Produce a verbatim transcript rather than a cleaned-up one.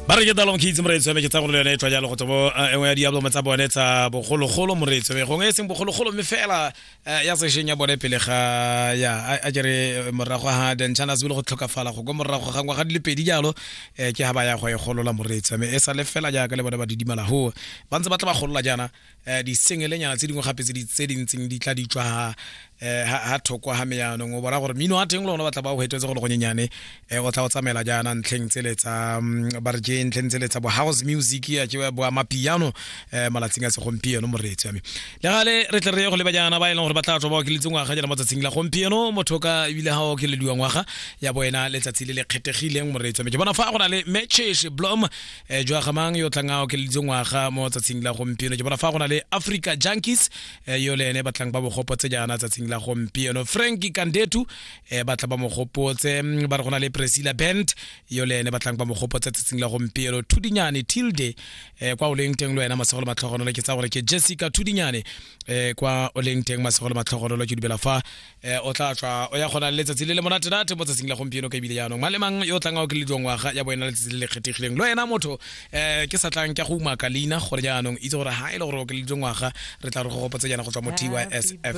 Ba re ke Dalom Kids, moreetsi wa me. Ke tsa gore le yone e tswa jalo go tswa mo eh, e nngwe ya dialbum tsa bone tsa bogologolo, moreetsi wa me, gongwe e seng bogologolo mme fela eh, ya sešweng ya bone pele ga ya a- a kere eh, morago ga Denchana se bile go tlhokafala go kwa morago ga ngwaga di le pedi jalo, eh, ke ga ba ya go e golola, moreetsi wa me. E sa le fela jaaka le bone ba didimala ho ba ntse ba tla ba golola jaana eh, disengelenyana tse dingwe gape tse di tse di ntseng di tla di tswa ha eh, ha ha thoko ha me. Yaanong o bona gore mmino wa teng le one ba tla ba o hetetse go le gonyenyane, eh, o tla o tsamaela jaana ntlheng tsele tsa mm, ba re ke ntlheng tsele tsa bo house music ya ke bo amapiano eh, malatsing a segompieno, moreetsi wa me. Le gale re tle re ye go leba jaana ba e leng gore ba tla tswa ba okeletse ngwaga jaana mo tsatsing la gompieno. Motho ka ebile ga o okelediwa ngwaga ya bo ena letsatsi le le kgethegileng, moreetsi wa me. Ke bona fa go na le Matches Blom eh, jwa gamang yo tlang a okeleditse ngwaga mo tsatsing la gompieno. Ke bona fa go na le Africa Junkies, eh, yo le ene batlang ba mogopotse jaana tsatsing la gompieno. Franki Kandetu eh, batla ba mogopotse. mm, ba re go na le Priscilla Bent yo le ene batlang ba mogopotse tsatsing la gompieno. Thudinyane Tilde, eh, kwa o leng teng le wena masego le matlhogonolo. Ke tsa gore ke Jessica Thudinyane, eh, kwa o leng teng masego le matlhogonolo. Ke dumela fa eh, o tla tswa o ya gona le letsatsi le le monatenate mo tsatsing la gompieno. Ka ebile jaanong mang le mang yo o tlang a okelediwa ngwaga ya bo ena letsatsi le le kgethegileng le wena motho eh, ke sa tlang ke go umaka leina gore jaanong itse gore ha e le gore o okeleditswe ngwaga, re tla re go gopotse jaana go tswa mo T Y S F.